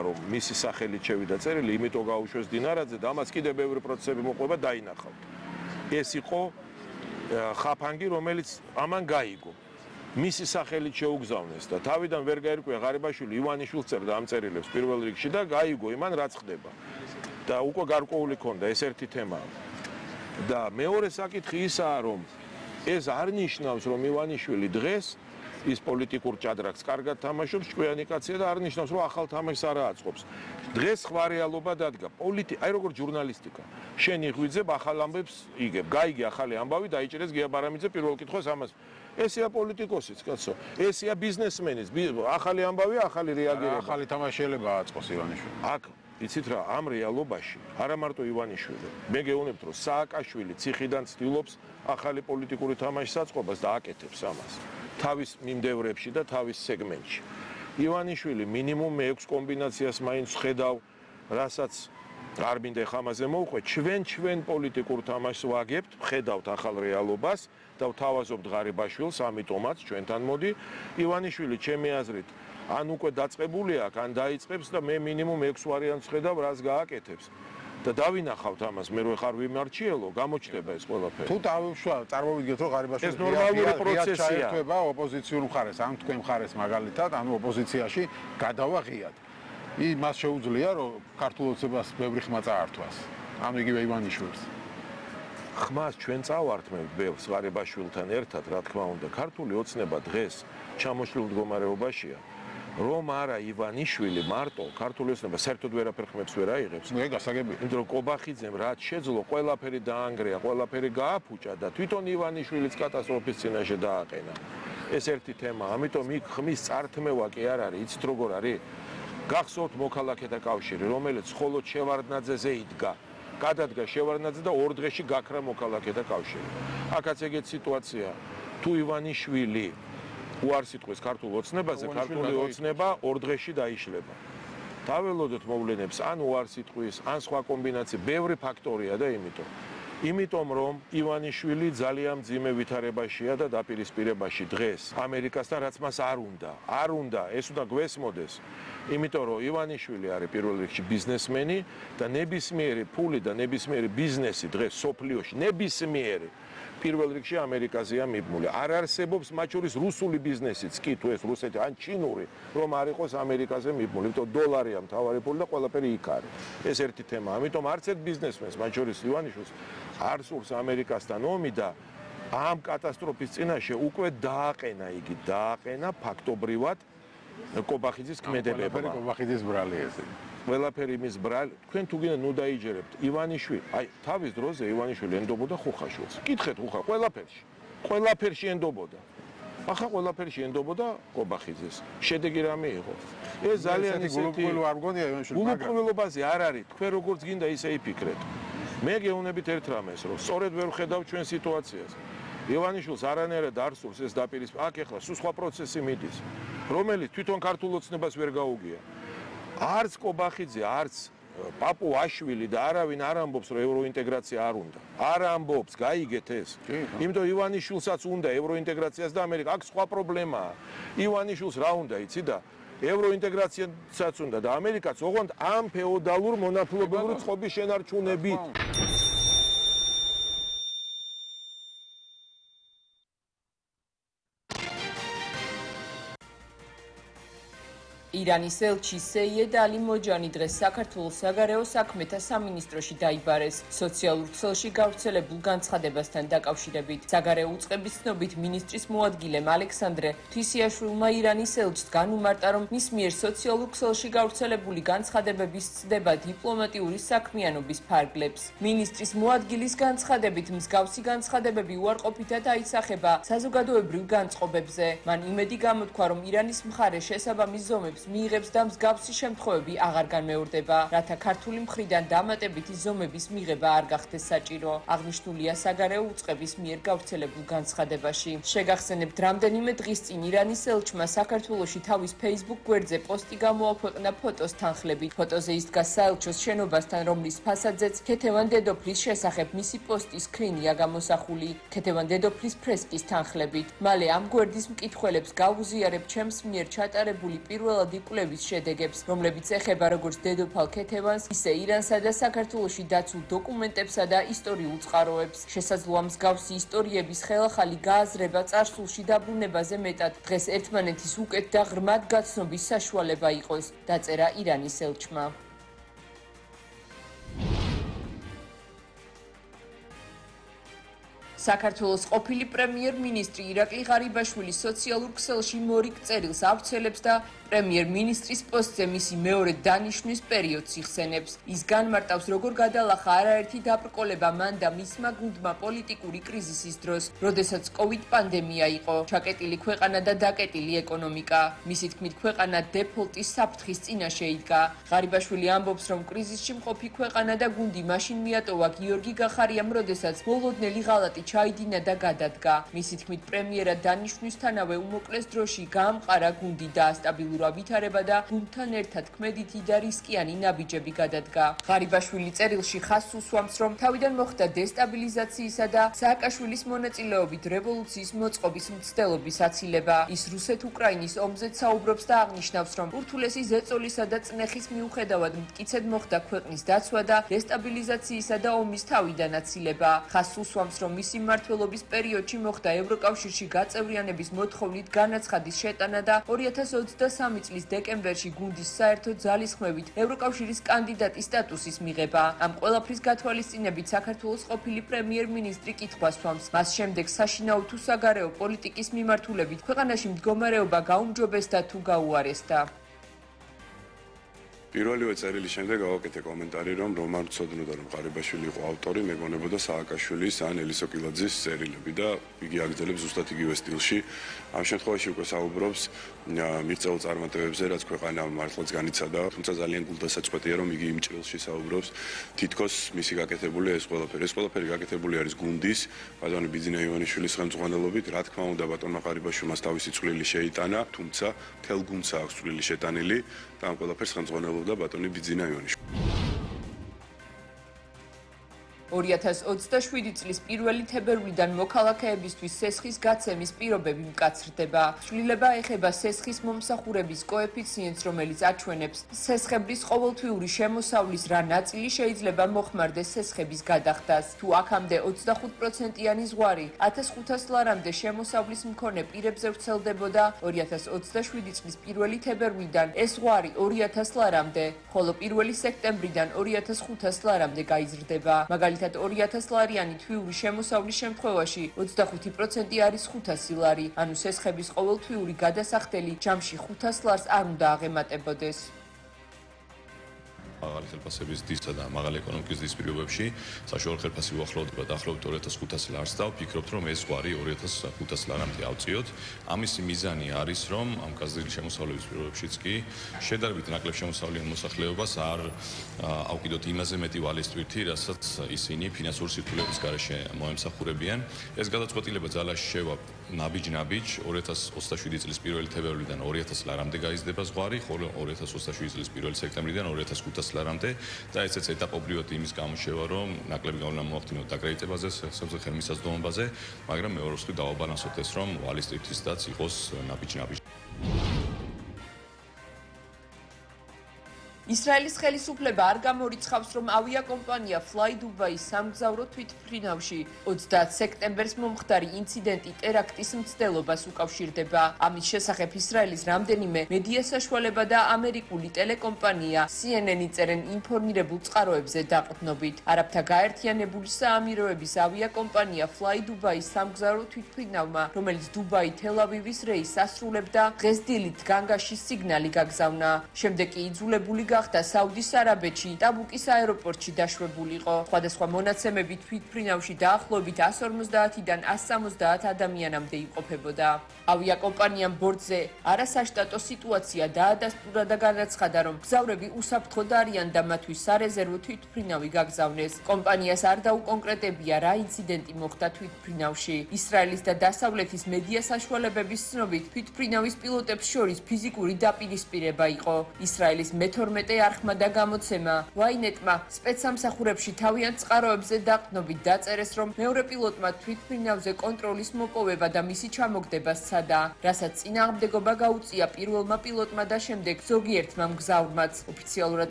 რომ მისი სახელით შევიდა წერილი, იმიტომ გაუშვეს დინარაძე და ამას კიდევ ბევრი პროცესები მოყვება დაინახავთ. ეს იყო ხაფანგი, რომელიც ამან გაიგო. მისი სახელით შეუგზავნეს და თავიდან ვერ გაერკვია ღარიბაშვილი ივანიშვილს წერდა ამ წერილებს პირველ რიგში და გაიგო იმან რაც ხდება. და უკვე გარკვეული ქონდა ეს ერთი თემაა. და მეორე საკითხი ისაა, რომ ეს არ ნიშნავს, რომ ივანიშვილი დღეს ის პოლიტიკურ ჭადრაკს კარგად თამაშობს, ჭკვიანი კაცია და არ ნიშნავს, რომ ახალ თამაშს არ აწყობს. დღეს სხვა რეალობა დადგა. აი როგორ ჟურნალისტიკა. შენ იღვიძებ ახალ ამბებს იგებ. გაიგე ახალი ამბავი, დაიჭერეს გია ბარამიძე პირველ კითხვას ამას. ესეა პოლიტიკოსიც, კაცო. ესეა ბიზნესმენის. ახალი ამბავი, ახალი რეაგირება. ახალი თამაშიელება აწყოს ივანიშვილი. აქ იცით რა, ამ რეალობაში არა მარტო ივანიშვილი. მე გეუბნებთ, რომ სააკაშვილი ციხიდან ცდილობს ახალი პოლიტიკური თამაშის აწყობას და აკეთებს ამას. თავის მიმდევრებში და თავის სეგმენტში. ივანიშვილი მინიმუმ 6 კომბინაციას მაინც ხედავ, რასაც არ მინდა ხამაზე მოვყვე, ჩვენ პოლიტიკურ თამაშს ვაგებთ, ხედავთ ახალ რეალობას და ვთავაზობთ ღარიბაშვილს, ამიტომაც ჩვენთან მოდი. ივანიშვილი ჩემი აზრით ან უკვე დაწყებული აქვს, ან დაიწყებს და მე მინიმუმ 6 ვარიანტს ხედავ, რას გააკეთებს. და დავინახავთ ამას, მე რო ხარ ვიმარჩიელო, გამოჩნდება ეს ყველაფერი. თუ წარმოვიდგეთ, რომ ღარიბაშვილი ეს ნორმალური პროცესია. ჩაერთვება ოპოზიციურ მხარეს, ან თქვენ მხარეს მაგალითად, ანუ ოპოზიციაში გადავა ღიად. მას შეუძლია, რომ ქართულ ოცნებას ბევრი ხმა წაართვას. ანუ იგივე ივანიშვილს. ხმას ჩვენ წავართმევთ ბევრს ღარიბაშვილთან ერთად, რა თქმა უნდა, ქართული ოცნება დღეს ჩამოშლილ მდგომარეობაშია. რომ არა ივანიშვილი მარტო ქართული ოცნება საერთოდ ვერაფერ ხმებს ვერ აიღებს. ნუ ეგ გასაგებია. იმიტომ რომ კობახიძემ რაც შეძლო, ყველაფერი დაანგრია, ყველაფერი გააფუჭა და თვითონ ივანიშვილიც კატასტროფის წინაშე დააყენა. ეს ერთი თემა, ამიტომ იქ ხმის წართმევა კი არ არის, იცით როგორ არის? გახსოვთ მოქალაქეთა კავშირი, რომელიც მხოლოდ შევარდნაძეზე იდგა. გადადგა შევარდნაძე და 2 დღეში გაქრა მოქალაქეთა კავშირი. აქაც ეგეთ სიტუაცია. თუ ივანიშვილი უარს იტყვის ქართულ ოცნებაზე, ქართული ოცნება 2 დღეში დაიშლება. დაველოდოთ მოვლენებს, ან უარს იტყვის, ან სხვა კომბინაცია, ბევრი ფაქტორია და იმიტომ რომ ივანიშვილი ძალიან მძიმე ვითარებაშია და დაპირისპირებაში დღეს ამერიკასთან, რაც მას არ უნდა, ეს უნდა გვესმოდეს. იმიტომ რომ ივანიშვილი არის პირველ რიგში ბიზნესმენი და ნებისმიერი ფული და ნებისმიერი ბიზნესი დღეს სოფლიოში ნებისმიერი პირველ რიგში ამერიკაზეა მიბმული. არ არსებობს მათ შორის რუსული ბიზნესიც კი თუ ეს რუსეთი ან ჩინური რომ არ იყოს ამერიკაზე მიბმული. იმიტომ დოლარია მთავარი ფული და ყველაფერი იქ არის. ეს ერთი თემა. ამიტომ არც ერთ ბიზნესმენს მათ შორის ივანიშვილს არ სურს ამერიკასთან ომი და ამ კატასტროფის წინაშე უკვე დააყენა ფაქტობრივად კობახიძის ქმედებება. კობახიძის ბრალი ესე. ყველაფერი მის ბრალი, თქვენ თუ გინდა ნუ დაიჯერებთ ივანიშვილი, თავის დროზე ივანიშვილი ენდობოდა ხუხაშვილს. კითხეთ ხუხა, ყველაფერში ენდობოდა. ახლა ყველაფერში ენდობოდა კობახიძეს. შედეგი რამე იყო? ეს ძალიან ისეთი არ მგონია ივანიშვილი. გულუბრყვილობაზე არ არის, თქვენ როგორც გინდა ისე იფიქრეთ. მე გეუბნებით ერთ რამეს, რომ სწორედ ვერ ვხედავ ჩვენ სიტუაციას. ივანიშვილს არანაირად არ სურს ეს დაპირისპირება. აქ ეხლა სულ სხვა პროცესი მიდის, რომელიც თვითონ ქართულ ოცნებას ვერ გაუგია. არც კობახიძე, არც პაპუაშვილი და არავინ არ ამბობს, რომ ევროინტეგრაცია არ უნდა. არ ამბობს, გაიგეთ ეს. იმიტომ ივანიშვილსაც უნდა ევროინტეგრაციას და ამერიკა. აქ სხვა პრობლემაა. ივანიშვილს რა უნდა, იცი და ევროინტეგრაციასაც უნდა და ამერიკაც ოღონდ ამ ფეოდალურ მონათლობური წყობის შენარჩუნებით. ირანის ელჩი სეიედ ალი მოჯანი დღეს საქართველოს საგარეო საქმეთა სამინისტროში დაიბარეს. სოციალურ ქსელში გავრცელებულ განცხადებასთან დაკავშირებით საგარეო უწყების ცნობით მინისტრის მოადგილემ ალექსანდრე ღვთისიაშვილმა ირანის ელჩს განუმარტა, რომ მის მიერ სოციალურ ქსელში გავრცელებული განცხადებების ცდება დიპლომატიური საქმიანობის ფარგლებს. მინისტრის მოადგილის განცხადებით მსგავსი განცხადებები უარყოფითად აისახება საზოგადოებრივ განწყობებზე. მან იმედი გამოთქვა, რომ ირანის მხარე შესაბამის ზომებს მიიღებს და მსგავსი შემთხვევები აღარ განმეორდება, რათა ქართული მხრიდან დამატებითი ზომების მიღება არ გახდეს საჭირო. აღნიშნულია საგარეო უწყების მიერ გავრცელებულ განცხადებაში. შეგახსენებთ, რამდენიმე დღის წინ ირანის ელჩმა საქართველოში თავის Facebook გვერდზე პოსტი გამოაქვეყნა ფოტოს თანხლებით. ფოტოზე ის დგას საელჩოს შენობასთან, რომლის ფასადზეც ქეთევან დედოფლის შესახებ მისი პოსტის სკრინია გამოსახული. ქეთევან დედოფლის ფრესკის თანხლებით. მალე ამ გვერდის მკითხველებს გავუზიარებ ჩემს მიერ ჩატარებული პირველად ნაყოფიერი კვლევის შედეგებს, რომლებიც ეხება როგორც დედოფალ ქეთევანს, ისე ირანსა და საქართველოში დაცულ დოკუმენტებსა და ისტორიულ წყაროებს. შესაძლოა მსგავსი ისტორიების ხელახალი გააზრება წარსულში დაბრუნებაზე მეტად დღეს ერთმანეთის უკეთ და ღრმად გაცნობის საშუალება იყოს, დაწერა ირანის ელჩმა. საქართველოს ყოფილი პრემიერ-მინისტრი ირაკლი ღარიბაშვილი სოციალურ ქსელში მორიგ წერილს ავრცელებს და პრემიერ-მინისტრის პოსტზე მისი მეორე დანიშვნის პერიოდს იხსენებს. ის განმარტავს, როგორ გადალახა არაერთი დაბრკოლება მან და მისმა გუნდმა პოლიტიკური კრიზისის დროს, როდესაც COVID პანდემია იყო, ჩაკეტილი ქვეყანა და დაკეტილი ეკონომიკა. მისი თქმით, ქვეყანა დეფოლტის საფრთხის წინაშე იდგა. ღარიბაშვილი ამბობს, რომ კრიზისში მყოფი ქვეყანა და გუნდი მაშინ მიატოვა გიორგი გახარიამ, როდესაც მოლოდნელი ღალატი ჩაიდინა და გადადგა. მისი თქმით, პრემიერად დანიშვნისთანავე უმოკლეს დროში გაამყარა გუნდი და სტაბილურ ვითარება და გუნდთან ერთად ქმედითი და რისკიანი ნაბიჯები გადადგა. ღარიბაშვილი წერილში ხაზს უსვამს, რომ თავიდან მოხდა დესტაბილიზაციისა და სააკაშვილის მონაწილეობით რევოლუციის მოწყობის მცდელობის აცილება. ის რუსეთ-უკრაინის ომზეც საუბრობს და აღნიშნავს, რომ ურთულესი ზეწოლისა და წნეხის მიუხედავად მტკიცედ მოხდა ქვეყნის დაცვა და დესტაბილიზაციისა და ომის თავიდან აცილება. ხაზს უსვამს, რომ მისი მმართველობის პერიოდში მოხდა ევროკავშირში გაწევრიანების მოთხოვნით განაცხადის შეტანა და 2023 წლის დეკემბერში გუნდის საერთო ძალისხმევით ევროკავშირის კანდიდატის სტატუსის მიღება. ამ ყველაფრის გათვალისწინებით საქართველოს ყოფილი პრემიერ-მინისტრი კითხვას სვამს. მას შემდეგ საშინაო თუ საგარეო პოლიტიკის მიმართულებით ქვეყანაში მდგომარეობა გაუმჯობესდა თუ გაუარესდა. პირველივე წერილის შემდეგ გავაკეთე კომენტარი, რომ რომან ცოდნოდა, რომ ღარიბაშვილი იყო ავტორი, მეგონებოდა სააკაშვილის ან ელისო კილაძის წერილები და იგი აგრძელებს ზუსტად იგივე სტილში. ამ შემთხვევაში უკვე საუბრობს მიღწეულ წარმატებებზე, რაც ქვეყანა მართლაც განიცადა, თუმცა ძალიან გულდასაწყვეტია, რომ იგი იმ ჭრილში საუბრობს, თითქოს მისი გაკეთებული ეს ყველაფერი გაკეთებული არის გუნდის, ბატონი ბიძინა ივანიშვილის ხელმძღვანელობით, რა თქმა უნდა, ბატონმა ღარიბაშვილმა თავისი წვლილი შეიტანა, თუმცა მთელ გუნდს აქვს წვლილი შეტანილი და ამ ყველაფერს ხელმძღვანელობდა ბატონი ბიძინა ივანიშვილი. 2027 წლის 1 თებერვლიდან მოქალაქეებისთვის სესხის გაცემის პირობები მკაცრდება. ცვლილება ეხება სესხის მომსახურების კოეფიციენტს, რომელიც აჩვენებს სესხების ყოველთვიური შემოსავლის რა ნაწილი შეიძლება მოხმარდეს სესხების გადახდას. თუ აქამდე 25%-იანი ზღვარი 1500 ლარამდე შემოსავლის მქონე პირებზე ვრცელდებოდა, 2027 წლის 1 თებერვლიდან ეს ზღვარი 2000 ლარამდე, ხოლო 1 სექტემბრიდან 2500 ლარამდე გაიზრდება. მაგალითად 2000 ლარიანი თვიური შემოსავლის შემთხვევაში 25% არის 500 ლარი, ანუ სესხების ყოველთვიური გადასახდელი ჯამში 500 ლარს არ უნდა აღემატებოდეს. მაღალი ხელფასების დისა და მაღალი ეკონომიკის დის პირობებში საშუალო ხელფასი უახლოვდება დაახლოებით 2500 ლარს და ვფიქრობთ, რომ ეს ზღვარი 2500 ლარამდე ავწიოთ. ამისი მიზანი არის, რომ ამ გაზრდილი შემოსავლების პირობებშიც კი შედარებით ნაკლებ შემოსავლიან მოსახლეობას არ ავკიდოთ იმაზე მეტი ვალის ტვირთი, რასაც ისინი ფინანსური სირთულეების გარეშე მოემსახურებიან. ეს გადაწყვეტილება ძალაში შევა ნაბიჯ-ნაბიჯ 2027 წლის 1 თებერვლიდან 2000 ლარამდე გაიზრდება ზღვარი, ხოლო 2027 წლის 1 სექტემბრიდან 2500 ლარამდე და ესეც ეტაპობრივად იმის გამოშევა, რომ ნაკლები გავლენა მოახდინოთ დაკრედიტებაზე, სახელმწიფო მისაზომობაზე, მაგრამ მეორე მხრივ დავაბალანსოთ ეს, რომ ვალის ტვირთისდაც იყოს ნაბიჯ-ნაბიჯ. ისრაელის ხელისუფლება არ გამორიცხავს, რომ ავიაკომპანია Fly Dubai სამგზავრო თვითმფრინავში 30 სექტემბერს მომხდარი ინციდენტი ტერაქტის მცდელობას უკავშირდება. ამის შესახებ ისრაელის რამდენიმე მედია საშუალება და ამერიკული ტელეკომპანია CNN წერენ ინფორმირებულ წყაროებზე დაყრდნობით. არაბთა გაერთიანებული საამიროების ავიაკომპანია Fly Dubai სამგზავრო თვითმფრინავმა, რომელიც დუბაი-თელ-ავივის რეისს ასრულებდა, დღეს დილით განგაში სიგნალი გაგზავნა. შემდეგ კი იძულებული გახდა საუდის არაბეთში ტაბუკის აეროპორტში დაშვებულიყო. სხვადასხვა მონაცემები თვითმფრინავში დაახლოებით 150-დან 170 ადამიანამდე იმყოფებოდა. ავიაკომპანიამ ბორტზე არასაშტატო სიტუაცია დაადასტურა და განაცხადა, რომ მგზავრები უსაფრთხოდ არიან და მათთვის სარეზერვო თვითმფრინავი გაგზავნეს. კომპანიას არ დაუკონკრეტებია, რა ინციდენტი მოხდა თვითმფრინავში. ისრაელის და დასავლეთის მედია საშუალებების ცნობით, თვითმფრინავის პილოტებს შორის ფიზიკური დაპირისპირება იყო. ისრაელის მე-12 13 არხმა და გამოცემა. Ynet-მა სპეცსამსახურებში თავიანთ წყაროებზე დაყრდნობით დაწერეს, რომ მეორე პილოტმა თვითმფრინავზე კონტროლის მოპოვება და მისი ჩამოგდება სცადა, რასაც წინააღმდეგობა გაუწია პირველმა პილოტმა და შემდეგ ზოგიერთმა მგზავრმაც. ოფიციალურად